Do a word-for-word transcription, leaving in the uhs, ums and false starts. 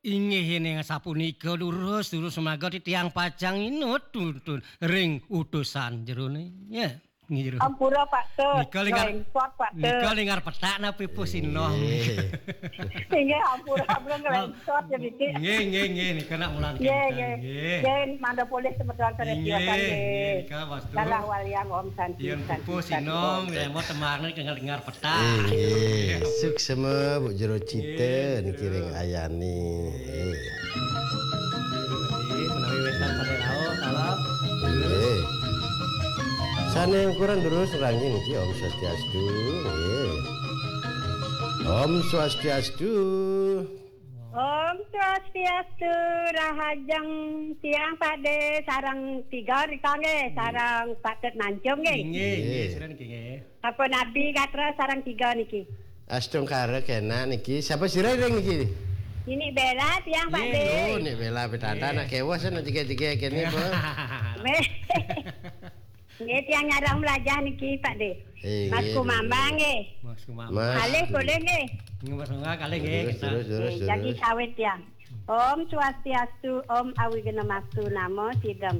Inggih, ning sapunika, durus, durus, sumangga titiang pacang inut tuntun ring utusan jerone. Ya, inggih, jero. Ampura, Pak Tut. Nika ling ar-, Nglengkot, Pak Tut. Nika ling arep petak napa pusin nom? Inggih. Inggih, ampura, ampura, nglengkot ya, Biki. Nggih, nggih, nggih, nika nak mulang Nggih, kenten, nggih. Nggih. Nggih, mangda polih semeton sareng Inggih. Diwatan, nggih. Nggih, nika wastu. Dalah waliang, Om Santi, Yen Santi, pupuh Santi, sinom, Om. Lemot temane kengal dengar petak. Inggih, suksema Bu Jero Cita Nggih, niki ring Jero. Ayani. Nggih. Nggih, menawi wénten sané rauh, salam. Nggih. Sané ukuran durus rangging niki, Om Swastiastu. Nggih. Om Swastiastu. Om Swastiastu, rahajeng tiang Pakde sareng tiga rika nggih, Nggih. Sareng Pak Tut Nancung nggih. Inggih, inggih, Nggih. Sira niki nggih. Sampun abi gatra sareng tiga niki. Astungkara kena niki. Sapa sira ring niki? Nini Bela tiang, Pak Nggih. De. Oh, Nik Bela petata Nggih. Nak kewas nak tiga-tiga kene, Bu. Nggih. Nggih, tiang nyarang melajah niki, Pak De. Eh, Mas nggih, Kumambang nggih. Nggih. Mas Kumambang. Mas. Kalih boleh nggih. Nggih, Mas Kumambang, kalih nggih, Terus, kita. Terus, terus, Nggih, jagi terus. Kawit tiang. Om Swastiastu, Om Awighnamastu Namo Sidam.